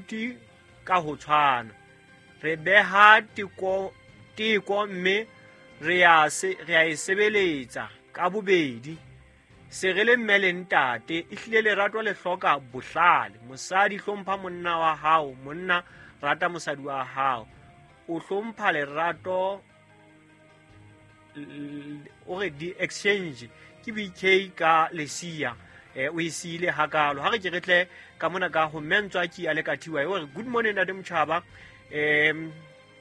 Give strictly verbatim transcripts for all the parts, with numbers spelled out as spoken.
baithuti ka ho tshwana. Re beha teko teko mme re a se re a e sebeletsa ka bobedi. Se re le mme le ntate, ehlile lerato le hloka bohlale. Mosadi hlompha monna wa hao, monna rata mosadi wa hao. O hlompha lerato o re di exchange ke B K ka lesia. Eh o e siile hakalo. Ha re ke re tle ka mona ka ho mmentswa ki a le ka thiwa. O re good morning ntate Motjhaba. Em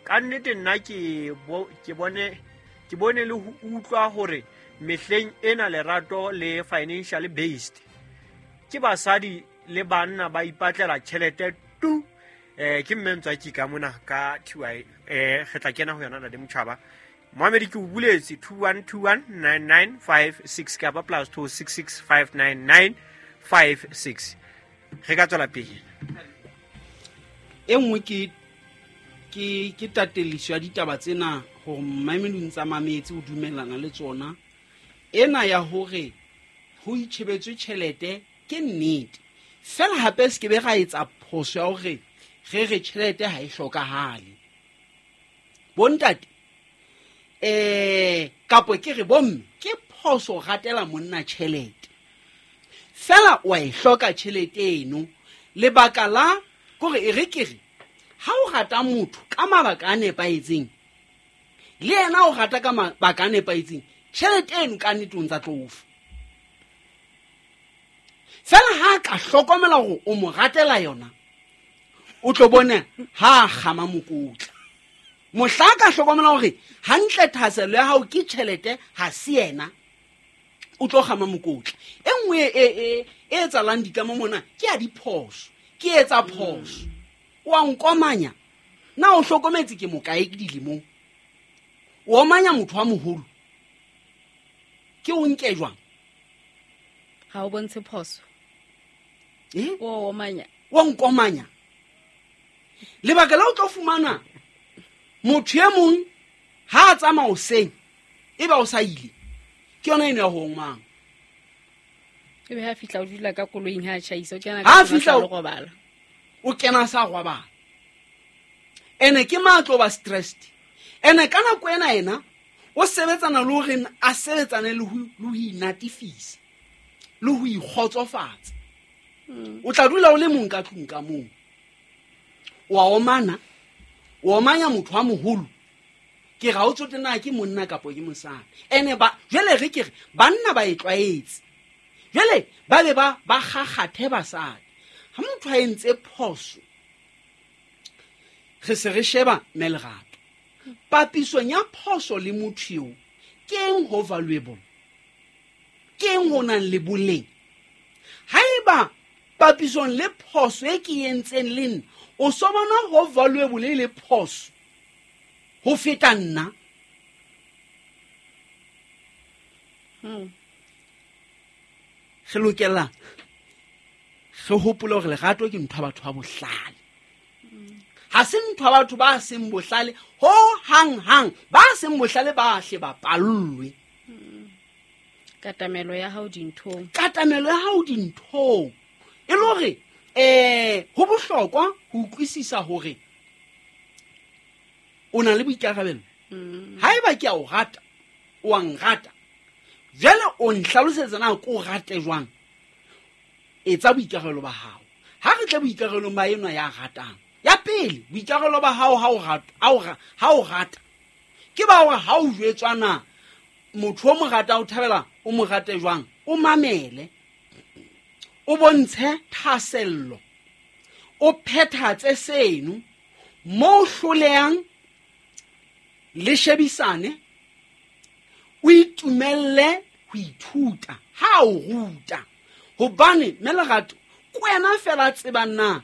ka nnete nna ke bo, ke bone ke bone le ho utlwa hore mehleng ena lerato le financially based. Ke basadi le banna ba ipatlela tjhelete tu. Eh ke mmentswa ki ka mona ka thiwa. Eh re tla kena ho yona ntate Motjhaba. Mohamedi ke o buletse two one two one nine nine five six kapa plus two six six five nine nine five six. Re ka tswela pele. E nngwe ke ke ke tateliso ya ditaba tsena hore mmamedi o ntsa mametse o dumellana le tsona. Ena ya hore ho itjhebetswe tjhelete ke nnete. Fela hape se ke be ra etsa phoso ya hore re re tjhelete ha e hlokahale. Bontate eh kapo ke re bomme ke phoso ratela monna tjhelete. Fela wa e hloka tjhelete eno. Lebaka la kore e re ke re ha o rata motho ka mabaka a nepahetseng le yena o rata ka mabaka a nepahetseng, tjhelete eno ka nnete o ntsa tlo fa. Fela ha ka hlokomela hore o mo ratela yona, o tlo bona ha kgama mokotla. Mohla ka hlokomela hore hantle thahasello ya hao ke tjhelete ha se yena, o tlo kgama mokotla. E nngwe e e e etsahalang ditlamo mona ke ya diphoso, ke etsa phoso. O a nkomanya, na o hlokometse ke mokae ke dilemong? O omanya motho wa moholo, ke o nke jwang? Ha o bontshe phoso. Eh? O omanya. O nkomanya. Lebaka la o tlo fumana motho e mong ha a tsamaya hoseng, ebe o sa ile, ke yona eno ya ho omang. Ebe ha fihla o dula ka koloing ha a tjhaisa, o kena Ha ka fihla o robala. O kena sa robala. Ene ke matlo ba stressed. Ene ka nako ena ena o sebetsana le hore a sebetsane le ho le ho inatifisa, le ho ikgotsofatsa. O tla dula o le mong ka tlung ka moo. O a omana, o omanya motho wa moholo. Ke ra o tsote na ke monna kapa ke mosadi. Ene ba jwale re ke re banna ba e tlwaetse. Jwale ba be ba ba kgakgathe basadi. Ha motho a entse phoso, re se re sheba mme lerato. Papisong ya phoso le motho eo, ke eng ho valuable? Ke eng ho nang le boleng? Haeba papisong le phoso e ke entseng le nna, o so bona ho valuable e le phoso ho feta nna? Hmm. Re lokela re hopole hore lerato ke ntho ya batho ba bohlale. Ha se ntho ya batho ba seng bohlale ho hang hang, ba seng bohlale ba hle ba pallwe. Katamelo ya hao dinthong. Katamelo ya hao dinthong. E le hore eh ho bohlokwa ho utlwisisa hore o na le boikarabelo. Haeba ke a o rata, o a nrata. Jwale o nhlalosetsa na ko rate jwang? Etsa boikarabelo ba hao. Ha re tle boikarabelong ba enwa ya ratang. Ya pele, boikarabelo ba hao ha o rata, ha o ra-, ha o rata. Ke ba hore ha o jwetswa na motho o mo rata o thabela o mo rate jwang, o mamele. O bontshe thahasello. O phethatse seno mo hlolehang le shebisane, o itumelle ho ithuta ha o ruta. Hobane mme lerato ke wena fela tsebang na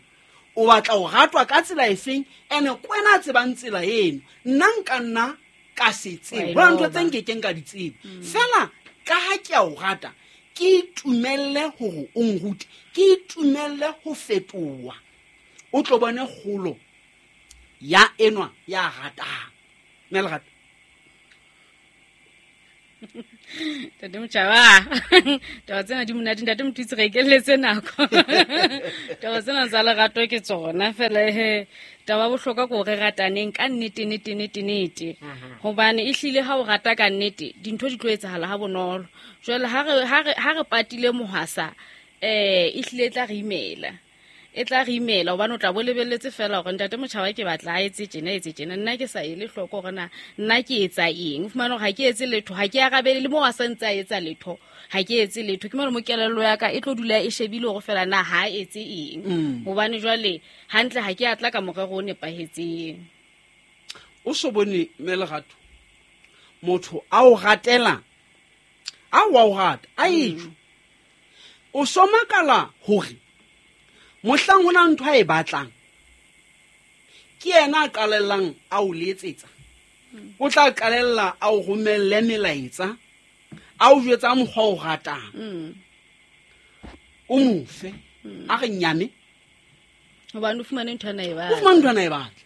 o batla ho ratwa ka tsela efeng, ene ke wena tsebang tsela eno. Nna nka nna ka se tsebe. Wa e Hona ntho tse loba. nkekeng ka di tseba. Mm. Fela ka ha ke a o rata, ke itumelle hore o nrute, ke itumelle ho fetoha. O tlo bone kgolo ya enwa ya ratang. Mme lerato. Ntate Motjhaba, taba tsena di monate. Ntate Mothusi, re ikelletse nako. Taba tsena tsa lerato ke tsona fela he. Taba bohlokwa ke hore rataneng ka nnete nnete nnete nnete. Hobane ehlile ha o rata ka nnete, dintho di tlo etsahala ha bonolo. Jwale ha re ha re ha re patile mohwasa, eh ehlile e tla re imela. E tla re imela hobane o tla bo lebelletse fela hore ntate Motjhaba ke batla a etse tjena etse tjena, nna ke sa ele hloko hore na nna ke etsa eng. O fumane hore ha ke etse letho, ha ke arabele le moo a sa ntse a etsa letho, ha ke etse letho. Ke mo mo kelello ya ka e tlo dula e shebile hore fela na ha etse eng. Hobane jwale hantle ha ke atla ka morero o nepahetseng. O so bone mme lerato, motho a o ratela, a wa o rata, a etsho. O so makala hore mohlang hona ntho a e batlang, ke yena a qalellang a o letsetsa. O tla qalella a o romelle melaetsa, a o jwetsa mokgwa o ratang. O mo fe, a re nyame. Hobane o fumane ntho ana e batla. O fumane ntho ana e batla.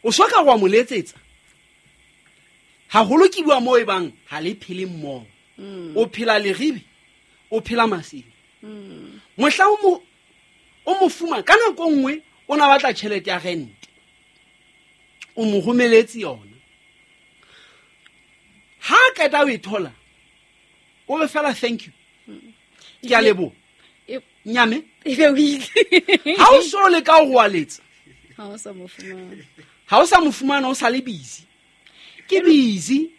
O so ka wa mo letsetsa. Haholo ke bua moo e bang ha le phele mmoho. O phela leribe, o phela masimo. Mohlang o mo o mo fuma ka nako nngwe o na batla tjhelete ya rent, o mo romeletse yona. Ha qeta o e thola, o re fela thank you, ke a leboha, nyame. Ebe o ile. Ha o so le ka ho aletsa, ha o sa mo fumana, ha o sa mo fumana, o sa le busy. Ke busy.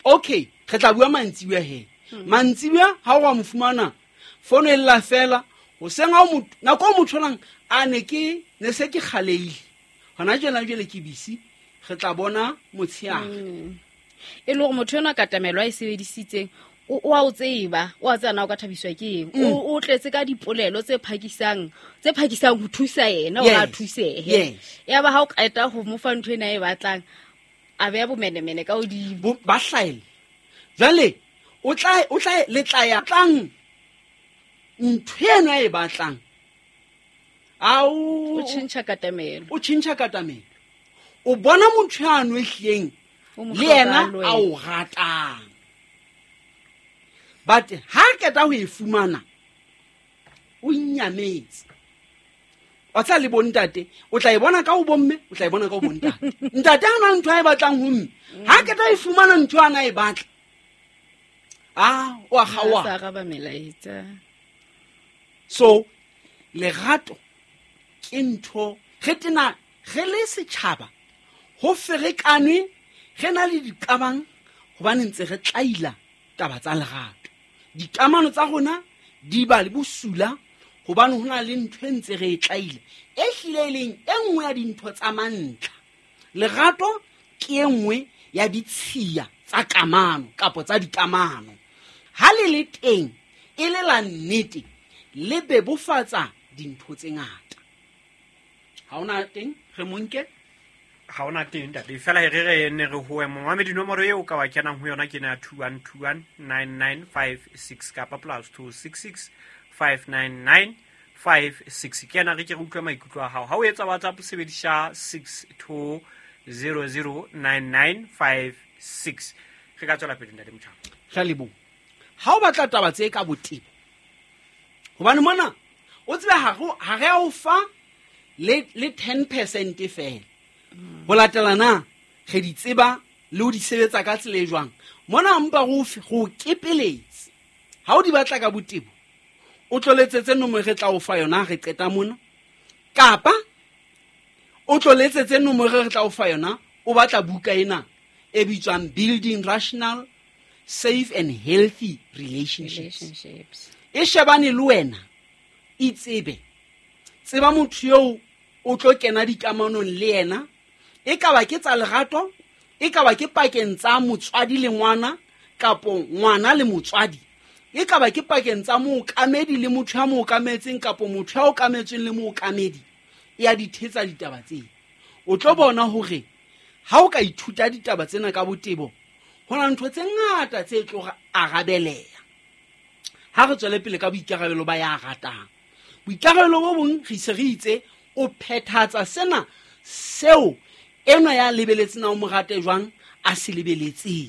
Okay, re tla bua mantsibuya he. Mantsibuya ha o wa mo fumana, fono e lla fela. Hoseng ha o motho, nako o mo tholang, a ne ke ne se ke kgaleile. Hona jwale jwale ke busy, re tla bona motsheare. E le hore motho enwa katamelo a e sebedisitseng, o o a o tseba, o a tseba na o ka thabiswa ke eng. O o tletse ka dipolelo tse phakisang, tse phakisang ho thusa yena hore a thusehe. Ya ba ha o qeta ho mo fa ntho ena e batlang, a beha bomenemene ka hodimo. Ba hlaela. Jwale o tla o tla le tla ya tlang ntho ena e batlang. Ao, o tjhentjha katamelo. O tjhentjha katamelo. O bona motho ya no ehleng le yena a o ratang. But ha qeta ho e fumana, o nyametse. O tla le bontate, o tla e bona ka ho bomme, o tla e bona ka ho bontate. Ntate ha na ntho a e batlang ho mme. Ha qeta e fumana ntho ana e batla, ah, o a kgaoha. Sa araba melaetsa. So lerato ke ntho re tena re le setjhaba ho ferekanwe, re na le diqabang hobane ntse re tlaila taba tsa lerato. Dikamano tsa rona di ba le bosula hobane ho na le ntho e ntse re e tlaile, e hlile e leng e nngwe ya dintho tsa mantlha. Lerato ke e nngwe ya ditshiya tsa kamano kapa tsa dikamano. Ha le le teng e le la nnete, le bebofatsa dintho tse ngata. Ha ona teng re monke, ha ona teng ntate. Fela re re ne re ho momamedi nomoro eo ka wa kenang ho yona ke na two one two one nine nine five six kapa plus two six six five nine nine five six. Ke ena re ke re utlwe maikutlo a hao. Ha o etsa WhatsApp sebedisa six two zero zero nine nine five six. Re ka tswela pele ntate Motjhaba. Re leboha. Ha o batla taba tse ka botebo, hobane mona o tsebe ha ha re o fa le le ten percent fela. Ho latela na re di tseba le ho di sebetsa ka tsela e jwang. Mona mpa go go kepeletse. Ha o di batla ka botebo, o tlo letsetse nomoro re tla o fa yona re qeta mona, kapa o tlo letsetse nomoro re tla o fa yona o batla buka ena e bitswang Building Rational, Safe and Healthy Relationships. Relationships. E shebane le wena, itsebe. Tseba motho eo o tlo kena dikamanong le yena, e ka ba ke tsa lerato, e ka ba ke pakeng tsa motswadi le ngwana kapo ngwana le motswadi, e ka ba ke pakeng tsa mookamedi le motho ya mookametseng kapo motho ya okametsweng le mookamedi. E a di thetsa ditaba tsena. O tlo bona hore ha o ka ithuta ditaba tsena ka botebo, ho na ntho tse ngata tse tlo arabeleha. Ha re tswele pele ka boikarabelo ba ya ratang. Boikarabelo bo bong re se re itse o phethatsa sena seo enwa ya lebeletseng na o mo rate jwang a se lebeletseng.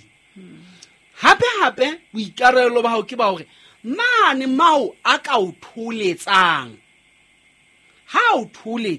Hape hape boikarabelo ba hao ke ba hore mane mao a ka o tholetsang, ha o tholetsa.